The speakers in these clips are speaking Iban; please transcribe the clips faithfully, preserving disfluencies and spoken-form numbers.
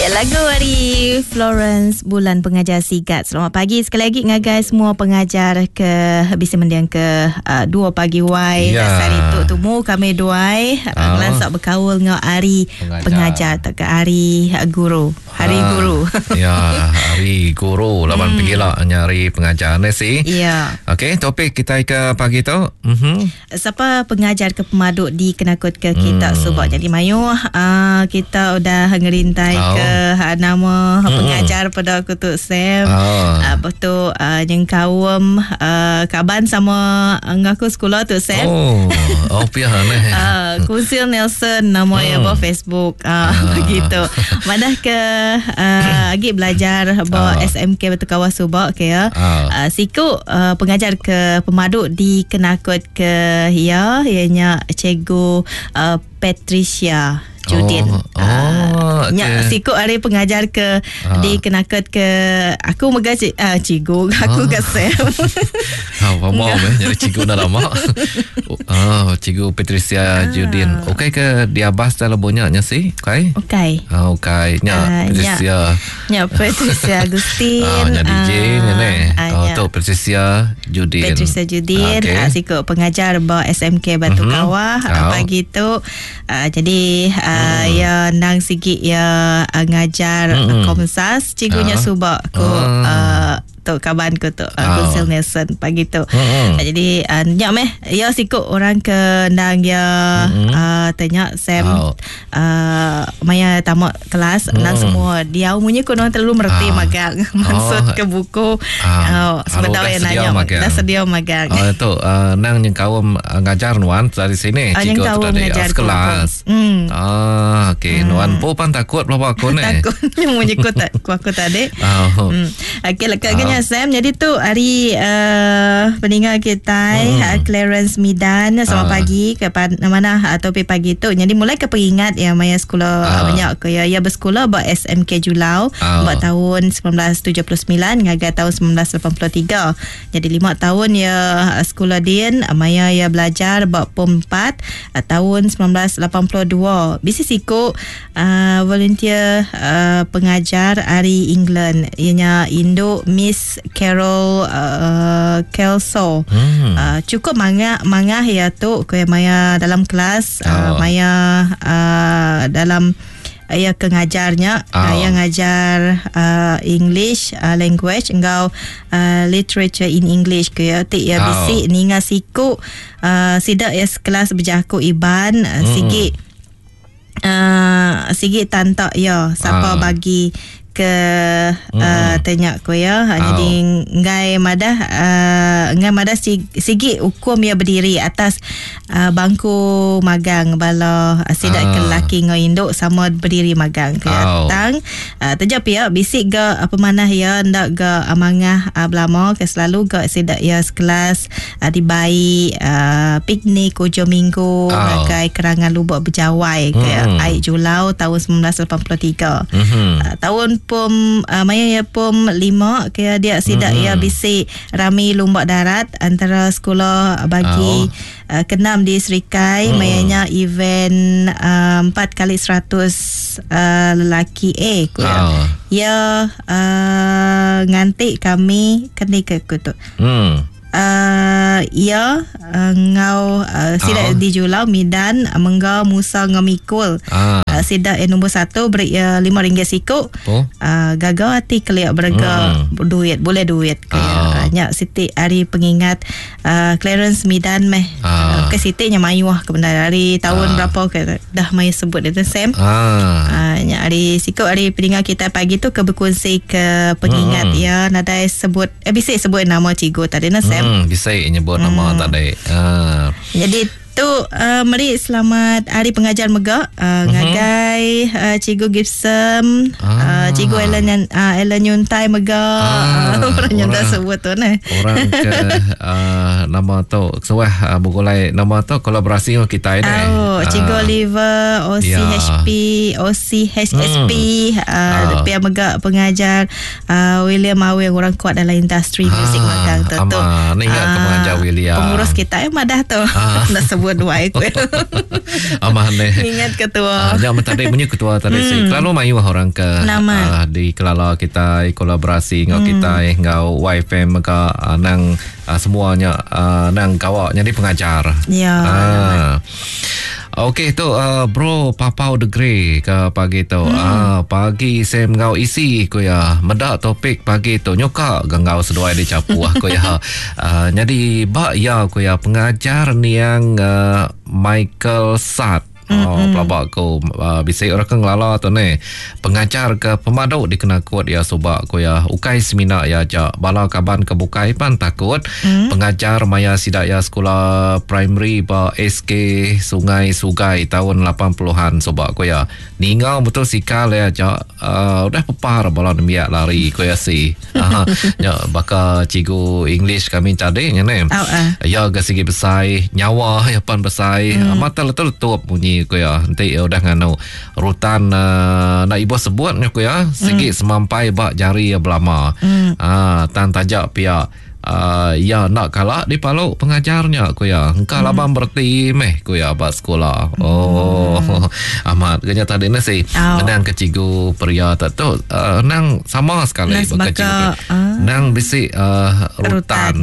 Lagu dari Florence Bulan Pengajar Sigat. Selamat pagi sekali lagi ngagai semua pengajar ke bisa mendiang ke uh, dua pagi wai. Ya. Hari tu tumu kami duai uh, Ah. ngelansak berkaul ngau hari Pengajar. pengajar tak ke hari uh, guru. Hari Ah, guru. Ya, hari guru lawan hmm. pergilah nyari pengajar ni si. Ya. Okey, topik kita ke pagi tu. Mhm. Siapa pengajar ke pemaduk di Kenakut ke kita hmm. subak jadi mayu uh, kita udah ngerintai Oh. ke uh, nama Hmm. pengajar pada aku tu Sam. Ah. Uh, betul uh, yang kaum uh, kaban sama ngaku sekolah tu Sam. Oh, oh pihak ni. Uh, Kusil Nelson nama hmm. ya Facebook uh, begitu. Madah ke uh, agi belajar ba Ah. S M K Batu Kawah Subak ke ya. Ah. Uh, siku uh, pengajar ke pemaduk di Kenakut ke ya ianya cikgu uh, Patricia Judin. Oh, oh, Ah, nya okey. siku hari pengajar ke Ah. di Kenakut ke aku mega cik, uh, cikgu aku Ah. ke Sam. Ha, faham eh jadi cikgu dah lama. Oh, cikgu Patricia Ah. Judin. Okey ke dia bahas dalam banyaknya sih? Okey. Okey. Ah, okey. Nya Ah, Patricia. Nya Patricia Agustin. Ah, nya D J nya ni. ah, Oh, nya tu Patricia Judin. Patricia Judin Okey. okay. Siku pengajar ba S M K Batu Mhm. mm-hmm. Kawah Oh. uh, pagi tu uh, jadi uh, mm. ya nang sigi ya uh, ngajar Mm-mm. mm. Komsas cikgunya Ah. subak ku Ah. uh, tu kaban ku tu uh, Ah. Kunsil Nelson pagi tu. Mm-mm. Uh, jadi uh, nyak meh ya siku orang ke nang ya Mm-mm. uh, tanya Sam Oh. uh, maya tamat kelas mm. nang semua dia umumnya ku orang terlalu merti Ah. magang maksud Oh. ke buku Ah. oh, sebentar Alu dah yang sedia nanya magang. dah sedia magang. Ah, tu uh, nang yang kaum uh, ngajar nuan dari sini Ah, yang cikgu tu kaum tadi ngajar ah, sekelas. ku. Hmm. Ah, okey. Nuan pun pan takut berapa aku ni. Takut menyekut tak ku aku tadi. Ah. Hmm. Okey lekat kenya Sam. Jadi tu hari uh, pendengar kita Hmm. hmm. uh, Clarence Midan selamat Ah. pagi ke pan, mana uh, topik pagi tu. Jadi mulai ke pengingat ya maya sekolah Ah. uh. banyak ke ya ya bersekolah ba S M K Julau Ah. buat tahun sembilan belas tujuh puluh sembilan hingga tahun sembilan belas lapan puluh tiga. Jadi lima tahun ya uh, sekolah din maya ya belajar bab pom empat uh, tahun sembilan belas lapan puluh dua. Bisi siku uh, volunteer uh, pengajar ari England ianya Indo Miss Carol uh, Kelso. Hmm. Uh, cukup mangah mangah ya tu ke maya dalam kelas uh, Oh. maya uh, dalam ya ke ngajarnya Oh. uh, yang ngajar uh, English uh, language engkau uh, literature in English ke ya tik ya Oh. bisi ninga siku uh, sidak ya sekelas berjaku iban uh, Hmm. sigi uh, sigi tantak ya siapa Ah. bagi ke uh, tanya ko ya Oh. jadi ngai madah uh, ngai madah sig- sigi hukum ya berdiri atas uh, bangku magang bala uh, sidak Ah. ke lelaki ngau induk sama berdiri magang ke Oh. tang uh, terjap ya bisik ge apa manah ya ndak ge amangah uh, belama ke selalu ge sidak ya sekelas uh, dibai uh, piknik hujung minggu Oh. ngagai kerangan lubuk berjawai ke Hmm. Aik Julau tahun sembilan belas lapan puluh tiga. Mhm. Uh, tahun pom uh, maya ya pom lima ke dia sidak Mhm. ya bisi rami lumbak darat antara sekolah bagi Oh. uh, kenam di Serikai Hmm. mayanya event uh, empat kali seratus uh, lelaki A ku ya. Oh. Ya uh, ngantik kami keni ke ku tu. Hmm. Uh, ya uh, ngau uh, sidak Oh. di Julau Midan uh, menggau Musa ngau Mikul. Ah. Uh, sidak yang nombor satu beri uh, lima ringgit sikuk. Oh. Uh, gagal hati keliak berega Hmm. duit boleh duit ke Ah. uh, nyak Siti hari pengingat uh, Clarence Midan meh Ah. uh, ke Siti nya mayuah ke benda hari tahun Ah. berapa ke dah mai sebut dia tu Sam. Ah. Ah, nyak hari sikut hari pendengar kita pagi tu ke berkongsi ke pengingat Hmm. ya nadai sebut eh bisa sebut nama cikgu tadi nah Sam. Hmm, bisa nyebut nama tadi. Ah. Jadi tu uh, meri selamat hari pengajar mega uh, Mhm. ngagai uh, Cikgu Gibson, Ah. uh, Cikgu Ellen uh, Ellen Yuntai mega. Ah, orang yang dah orang- sebut tu nah. Orang ke uh, nama tu suah uh, bergulai nama tu kolaborasi dengan kita ini. Oh, Cikgu Ah. Oliver, O C H P, O C H S P, Hmm. uh, Ah. pihak mega pengajar uh, William Awe yang orang kuat dalam industri Ah, muzik magang tu tu. ama, ni ingat ke Ah, pengajar William. Pengurus kita eh madah tu. Ah. Nak sebut sebut wai ku. Aman ne. Ingat ketua. Ah, jam tadi munyi ketua tadi mm. si. Kelalu mayuh orang ke uh, dikelala kita kolaborasi ngau mm. kita ngau Y F M mega uh, nang uh, semuanya uh, nang kawak jadi pengajar. Ya. Ah. Okey tu uh, bro Papau the Grey ke pagi tu. Hmm. Ah, pagi Sam ngau isi ku ya. Medak topik pagi tu nyoka gangau seduai dicapu aku ya. Uh, jadi bak ya ku ya pengajar niang uh, Michael Sat. Oh, pelabak aku uh, bisa orang ke ngelala tu ni. Pengajar ke pemaduk dikena kuat ya subak ku ya. Ukai semina ya jak bala kaban ke bukai pan takut. Mm. Pengajar maya sidak ya sekolah primary ba S K Sungai Sugai tahun lapan puluhan subak ku ya. Ningau betul sikal ya jak uh, udah pepar bala nembiak lari ku ya si. Uh, ya baka cikgu English kami tadi nya ni. Oh, uh. Ya ke segi besai nyawa ya pan besai mm. mata letup bunyi ku ya. Nanti ya udah nganu rutan uh, nak ibu sebut ku ya segi mm. semampai bak jari ya belama. Mm. Ah tan tajak pia uh, ya nak kalak di paluk pengajarnya ku ya. Engkau mm. labang berti meh ku ya bak sekolah. Oh mm. amat kena tadi ni si oh. Nang ke cikgu pria tak tu uh, nang sama sekali baka cikgu. Uh. Nang bisi uh, rutan. Rutan.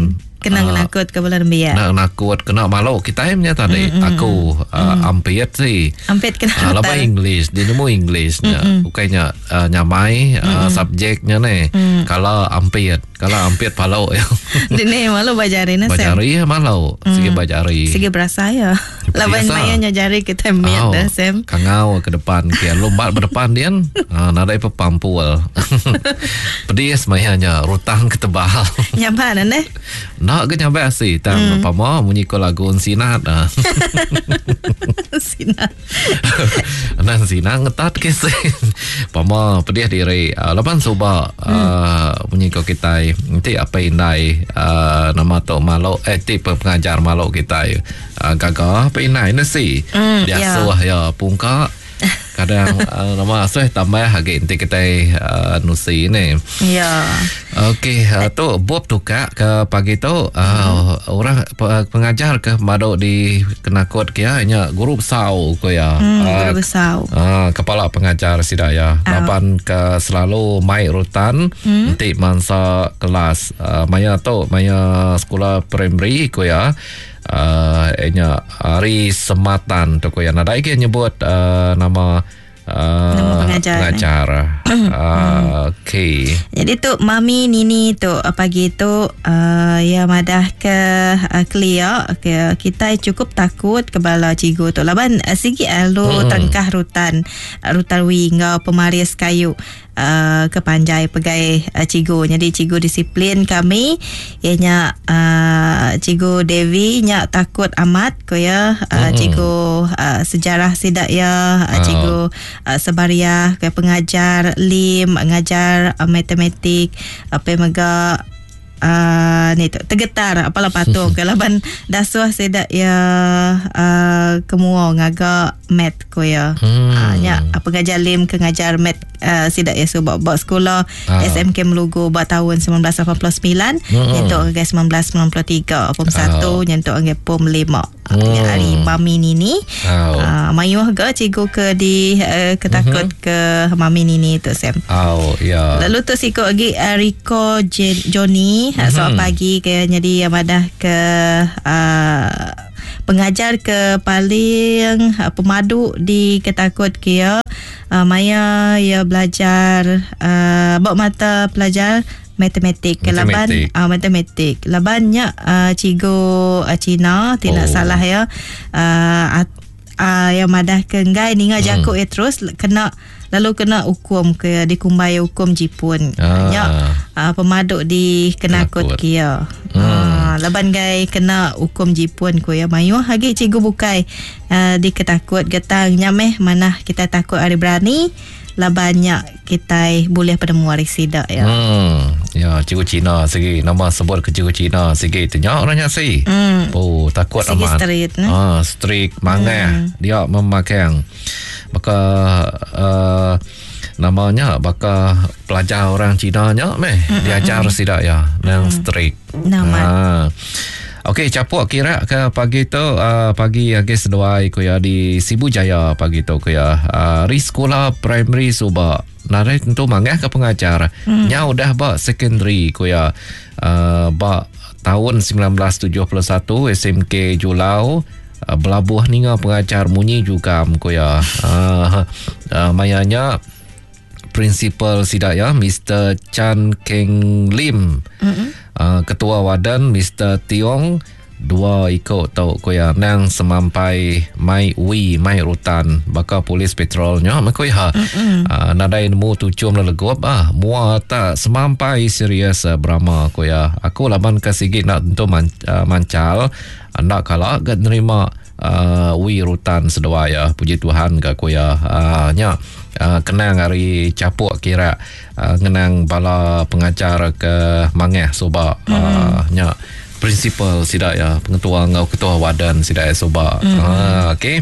Kena uh, nakut ke bala nembiak. Nak nakut kena malu kita punya tadi. Mm-hmm. Aku uh, mm. ampit sih. Ampit kena. Uh, lama English, dia nemu Englishnya. Mm-hmm. Bukannya uh, nyamai uh, subjeknya ni. Mm. Kalau ampit, kalau ampit palau ya. Dini malu bajari na. Bajari ya malu. Mm. Segi bajari. Segi berasa ya. Laban maya nyajari kita miat oh, dah Sam. Kangau ke depan kia lompat berdepan dia. Uh, nadai pepampul. Pedis mayanya rutang ke tebal. Nyaman ne? Nak ke nyampe sih tang mm. pama munyi ko lagu sinat. Sinat. Nan sinat ngetat ke sih. Pama pedih diri uh, lapan suba mm. uh, munyi ko kita nanti apa indai uh, nama tu malo eh ti pengajar malo kita uh, gaga apa indai ne sih. Mm, Dia yeah. suah ya pungka. Kadang uh, nama asuh tambah lagi nanti kita uh, nusi ni. Ya. Okey, uh, tu Bob tukar ke pagi tu uh, hmm. orang pengajar ke maduk di kenakut kia nya guru besar ko ya. Hmm, guru uh, besar. Uh, kepala pengajar sida ya. Oh. Lapan ke selalu mai rutan hmm? nanti mangsa kelas uh, maya tu maya sekolah primary ko ya. Uh, nya hari sematan tu ko ya. Nadai ke nyebut uh, nama Uh, nama pengajar. Pengajar. Uh, Okey. Jadi tu Mami Nini tu pagi tu uh, ya madah ke uh, Clear ke kita cukup takut ke bala cikgu tu. Laban uh, sigi alu hmm. tangkah rutan rutan wi ngau pemaris kayu. Uh, ke panjai pegai uh, cikgu. Jadi cikgu disiplin kami ianya uh, cikgu Devi nya takut amat ko ya uh, mm-hmm. cikgu uh, sejarah sidak ya uh, cikgu uh, Sebaria ke pengajar Lim ngajar uh, matematik apa mega Uh, ni tu tergetar apalah patung ke laban dasuh sedak ya uh, kemua ngagak mat ko ya. Hmm. Uh, nya pengajar Lim ke ngajar mat uh, sidak ya subak buat sekolah ah. S M K Melugu buat tahun sembilan belas lapan puluh sembilan hmm. nyentuk ke sembilan belas sembilan puluh tiga pom satu ah. nyentuk ke pom lima. Hmm. Uh, hari Mami Nini. Oh. Uh, mayuh ke cikgu ke di uh, ketakut mm-hmm. ke Mami Nini tu Sam. Oh ya. Lalu tu sikok lagi uh, Rico J- Johnny mm-hmm. Selamat pagi ke jadi yang madah ke uh, pengajar ke paling uh, pemadu di ketakut kia uh, maya ya belajar uh, bawa mata pelajar matematik. Matematik. Laban uh, matematik. Labannya uh, cikgu uh, Cina tidak oh. salah ya. Uh, uh, yang madah ke enggai ninga hmm. jakuk ya terus kena lalu kena hukum ke dikumbai hukum jipun. Ah. Nya uh, pemaduk di kenakut kia. Hmm. Uh, laban gai kena hukum jipun ku ya mayuh lagi cikgu bukai uh, di ketakut getang nya meh mana kita takut hari berani labannya kita boleh penemu hari sidak ya. Hmm. Ya, cikgu Cina segi nama sebut ke cikgu Cina segi tanya orangnya si. Hmm. Oh, takut segi amat. Street, ne? Ah, strict mangah. Hmm. Dia memakai. Maka uh, namanya baka pelajar orang Cina nya meh hmm. diajar hmm. sidak ya nang hmm. strict. Nama. Ha. Okey, capuk kira ke pagi tu uh, pagi agi seduai ku ya di Sibu Jaya pagi tu ku ya. Uh, ri sekolah primary suba narai tentu mangah ke pengajar. Hmm. Nya udah ba secondary ku ya. Uh, ba tahun sembilan belas tujuh puluh satu S M K Julau uh, belabuh ninga pengajar munyi juga ku ya. Uh, uh, mayanya prinsipal sidak ya Mister Chan Keng Lim. Mm-hmm. Uh, ketua wadan Mister Tiong dua ikut tau ku ya nang semampai mai wi mai rutan baka polis patrolnya ku ya. Mm-hmm. Uh, nadai nemu tucum lelegop ah mua tak semampai serius uh, berama ku ya. Aku laban ke sigi nak tentu man, uh, mancal ndak kala gak nerima uh, wi rutan seduai ya. Puji Tuhan ke ku ya. Uh, nya Uh, kenang hari capuk kira uh, ngenang bala pengajar ke mangah suba. Mm. Uh, nya prinsipal sidak ya pengetua ngau ketua wadan sidak ya suba. Mm. Uh, okey.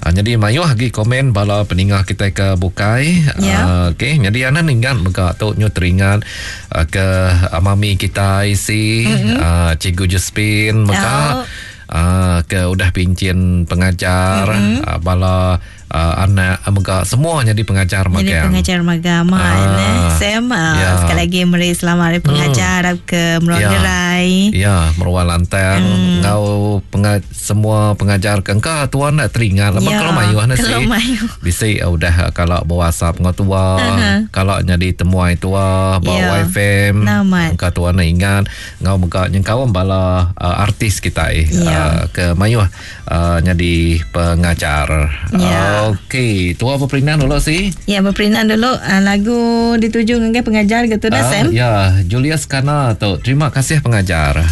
Uh, jadi mayuh lagi komen bala peningah kita ke bukai. Yeah. Uh, okey, jadi anan ingat mega tu nyu teringat uh, ke mami kita isi mm-hmm. uh, Cikgu Josephine mega oh. uh, ke udah pincin pengajar mm-hmm. uh, bala Uh, anak mega semua jadi pengajar magang. Jadi pengajar magang ah, eh. Sam uh, ya. Sekali lagi meri selamat hari pengajar hmm. ke Meruan ya. Gerai. Ya, Meruan Lantang hmm. ngau penga- semua pengajar ke engka tuan nak teringat lama ya. Kalau mayuh nasi. Kalau mayuh. Bisi uh, udah kalau berWhatsApp ngau tua, uh-huh. kalau jadi temuai tua bawa ya. Y F M. Engka tuan nak ingat ngau mega nyengkau bala uh, artis kita ya. uh, ke mayuh uh, jadi pengajar. Ya. Uh, Okey, tua berperinan dulu sih. Ya, berperinan dulu uh, lagu dituju dengan pengajar gitu dah uh, Sam. Ya, Julius Kana tu. Terima kasih pengajar.